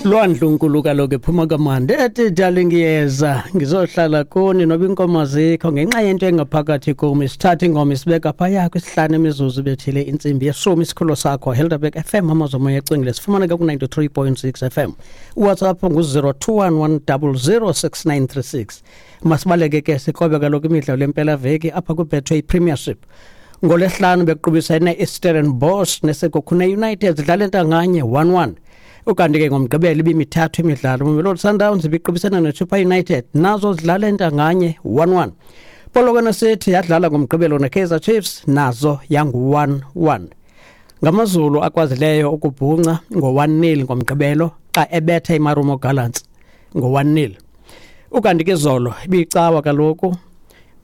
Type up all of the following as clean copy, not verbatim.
Lwandlunkulu kaloku ephuma kamandi ethi darling, ngiyeza ngizohlala kuni noba inkomo zikho ngenxa yento engaphakathi kum. Isithatha ingoma isibeka phaya kwisihlanu imizuzu bethile intsimbi yeshumi. Isikhululo sakho Helderberg FM, amazomoya ecingile, sifumaneka ku-93.6 FM. WhatsApp ngu-021 100 6936. Masibaleke ke sikrobe kaloku imidlalo yempelaveki apha kwiBetway Premiership. NgoLwesihlanu bekuqubisene iStellenbosch neSekhukhune United, zidlala entanganye 1-1. Ukanti ke ngoMgqibelo ibimithathu imidlalo. Mamelodi Sundowns ibiqubisana neChippa United, nazo zidlala entanganye 1-1. Polokwane City yadlala ngoMgqibelo neKaizer Chiefs, nazo yangu-1-1. NgamaZulu akwazileyo ukubhunca ngo-1-0 ngoMgqibelo xa ebetha iMarumo Gallants ngo-1-0. Ukanti ke izolo ibiyicawa kaloku,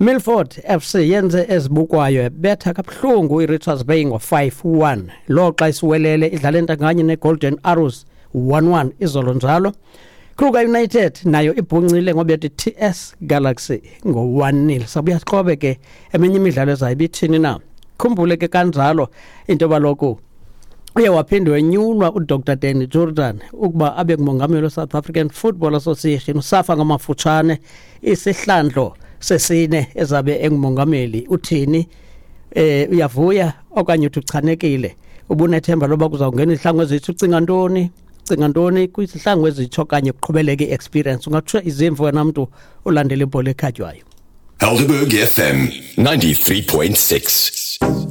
Milford FC yenze ezibukwayo, ebetha kabuhlungu iRichards Bay ngo-5-1, lo xa iSiwelele idlala entanganye neGolden Arrows 1-1 izolo njalo. Kruger United nayo ibhuncile ngobetha i-TS Galaxy ngo-1-0. Sabuya siqobe ke eminye imidlalo ezayo ibithini na. Khumbule ke kanjalo into yoba loku uye waphinde wenyulwa uDr Danny Jordan ukuba abe ngumongameli we-South African Football Association, uSAFA ngamafutshane, isihlandlo sesine ezabe engumongameli. Uthini? Uyavuya okanye uthi uchanekile? Ubunethemba loba kuzawungena izihlangu ezitsha? Ucinga ntoni? Ucinga ntoni kwizihlangu ezitsha okanye kuqhubeleke i-experience? Ungatsho izimvo wena mntu ulandela ibhola ekhatywayo. Helderberg FM 93.6.